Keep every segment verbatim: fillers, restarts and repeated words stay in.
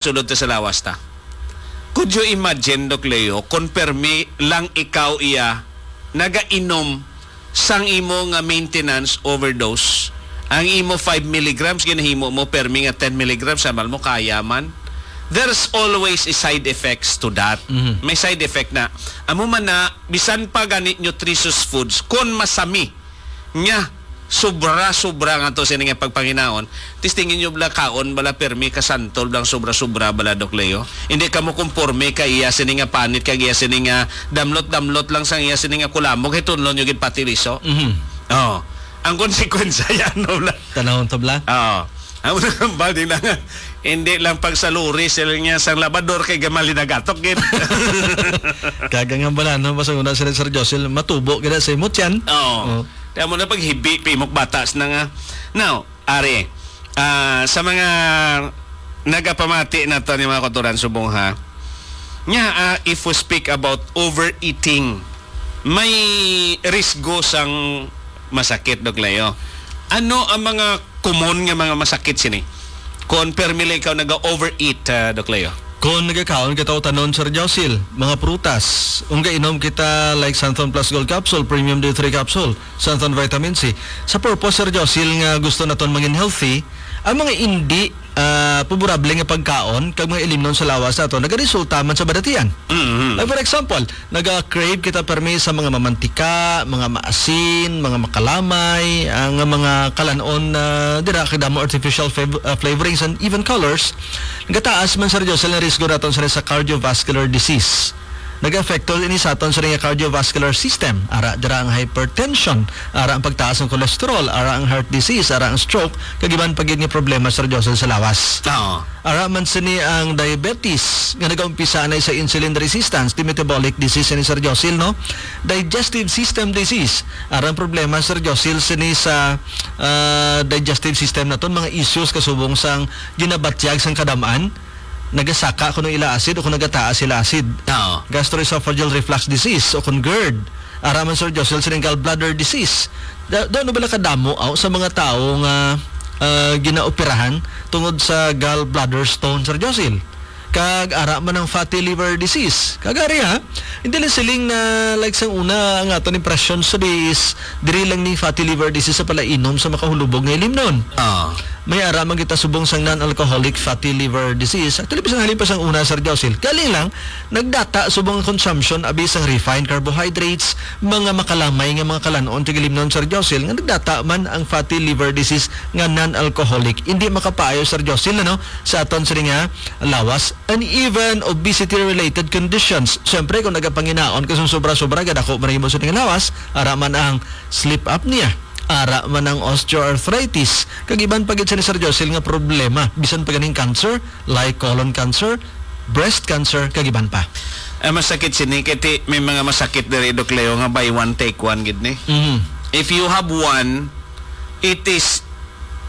sulod ta sa lawas ta. Could you imagine, Doc Leo, kung permi lang ikaw iya nagainom sang imo nga maintenance overdose? Ang imo five milligrams, ginahimo mo permi nga ten milligrams, samal mo kaya man. There's always a side effects to that. Mhm. May side effect na. Amo man na, bisan pa gani nutritious foods, kon masami, nga sobra-sobra nga to sini nga pagpanginaon, testingin nyo bala kaon bala permi ka santol blang sobra-sobra bala, Doc Leo. Hindi ka mo kumporme ka iya sini nga panit kag iya sini nga damlot-damlot lang sang iya sini nga kulamog, kay tunlon nyo gid pati liso. Mhm. Oh. Ang konsekwensya yan, no, bala. Tanawon to, bala. Oo. Ang mga kambal din lang, hindi lang pagsaluri sila niya sang labador kay gamal linagatok gid. Kagang ang bala, no? Basta una sila, Sir Josil, matubo gid sa imot yan. Oo. Oo. Kaya mo na paghibi, pimok batas na nga. Now, Ari, ah, sa mga nagapamati nato ni mga kautoran subong, ha, nya, ah, if we speak about overeating, may risgo sang masakit, Doc Leo. Ano ang mga common nga mga masakit sini? Kung permi lang ikaw naga-overeat, ah, Doc Leo. Kung nagakaon kita og tanom, Sir Josil, mga prutas, kung gainom kita like Santon Plus Gold Capsule, Premium D three Capsule, Santon Vitamin C, sa purpose, Sir Josil, nga gusto naton mangin healthy, ang mga indi, ah, favorable nga pagkaon kag mga ilimnon sa lawas nato nagaresulta man sa badatian. Mhm. Like, for example, naga-crave kita permi sa mga mamantika, mga maasin, mga makalamay, ah, nga mga kalan-on, ah, dira kay damo artificial fav-, ah, flavorings and even colors. Nagataas man, Sir Josil, ang risgo naton sa, sa cardiovascular disease. Nag-epekto ini sa aton sa nga cardiovascular system. Ara dira ang hypertension, ara ang pagtaas ng cholesterol, ara ang heart disease, ara ang stroke, kag iban pa gid nga problema, Sir Josil, sa lawas. Oo. Ara man sini ang diabetes, nga nagaumpisa na sa insulin resistance, di metabolic disease ni, Sir Josil, no? Digestive system disease. Ara ang problema, Sir Josil, sini sa, ah, digestive system naton, mga issues kasubong sang ginabatyag sang kadamaan, nagasaka kuno ila acid o kung nagataas sila acid. Oo. Gastroesophageal reflux disease o kung gerd. Ara man, Sir Josil, sining gallbladder disease. Da, da, ano bala kadamo, aw, sa mga tawo nga, ah, ginaoperahan tungod sa gallbladder stone, Sir Josil? Kag ara man ang fatty liver disease. Kag ari, ha, hindi lang siling na, like, sang una, ang aton impression sa di is diri lang ni fatty liver disease sa palainom sa makahulubog nga ilimnon. Ah. May ara man kita subong sang non-alcoholic fatty liver disease. Actually, bisan halin pa sang una, Sir Josil. Galing lang, nagdata subong ang consumption abi sang refined carbohydrates, mga makalamay nga mga kalan-on, tigilimnon, Sir Josil, nga nagdata man ang fatty liver disease nga non-alcoholic. Hindi makapaayo, Sir Josil, ano, sa aton sini nga lawas, and even obesity-related conditions. Siyempre, kung nagapanginaon ka sa sobra-sobra, gadako man ang imo sa lawas, ara man ang sleep apnea, ara man ang osteoarthritis, kag iban pa gid sini, Sir Josil, nga problema, bisan pa ganing cancer, like colon cancer, breast cancer, kag iban pa. Ang masakit sini, kay ti-, may mga masakit diri, Doc Leo, nga buy one, take one gid ni. Mhm. If you have one, it is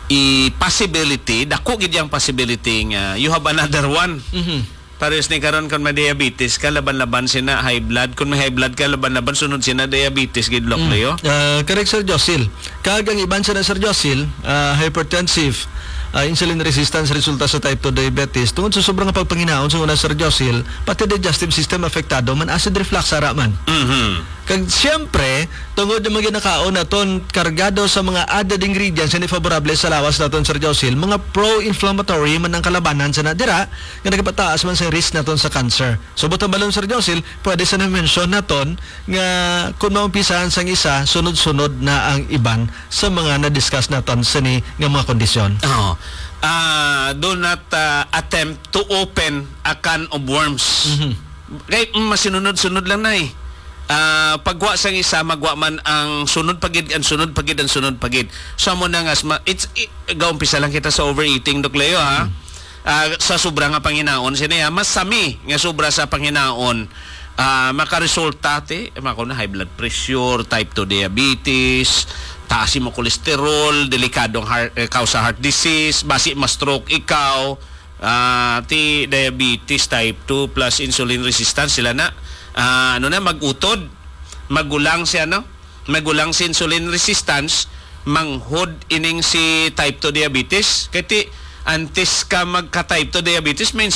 a possibility, dako gid yang possibility nga you have another one. Mhm. Parehas ni karon, kung may diabetes ka, laban-laban sina high blood. Kung may high blood ka, laban-laban sunod sina diabetes gid, Doc Mm. Leo. Ah, correct, Sir Josil. Kag ang iban sina, Sir Josil, ah, hypertensive, ah, insulin resistance resulta sa type two diabetes. Tungod sa sobrang pagpanginaon sa una, Sir Josil, pati digestive system apektado man, acid reflux ara man. Mhm. Kag siyempre, tungod yung mga ginakaon naton kargado sa mga added ingredients nga favorable sa lawas naton, Sir Josil, mga pro-inflammatory man ang kalabanan sa nadira, nga nagapataas man sa risk naton sa cancer. So, buot silingon, Sir Josil, pwede sa na-mention naton nga kung maumpisahan sang isa, sunod-sunod na ang iban sa mga na-discuss naton sini nga mga kondisyon. Oo. Ah, do not, ah, attempt to open a can of worms. Mhm. Kay, mm, masinunod-sunod lang na eh. Ah, pagwa sang isa, magwa man ang sunod pa gid, ang sunod pa gid, ang sunod pa gid. So, amo na nga, sma-, it's, i-, gaumpisa lang kita sa overeating, Doc Leo, ha? Hmm. Ah, sa sobra nga panginaon, sini, ha? Mas sami nga sobra sa panginaon, ah, makaresulta, ti, mako na, high blood pressure, type two diabetes, taas imo cholesterol, delikadong heart, eh, kausa heart disease, basi ma-stroke ikaw, ah, ti diabetes type two plus insulin resistance sila na, ah, ano na, mag-utod, magulang si ano, magulang si insulin resistance, manghod ining si type two diabetes. Kay ti, Antes ka magka-type two diabetes, may insulin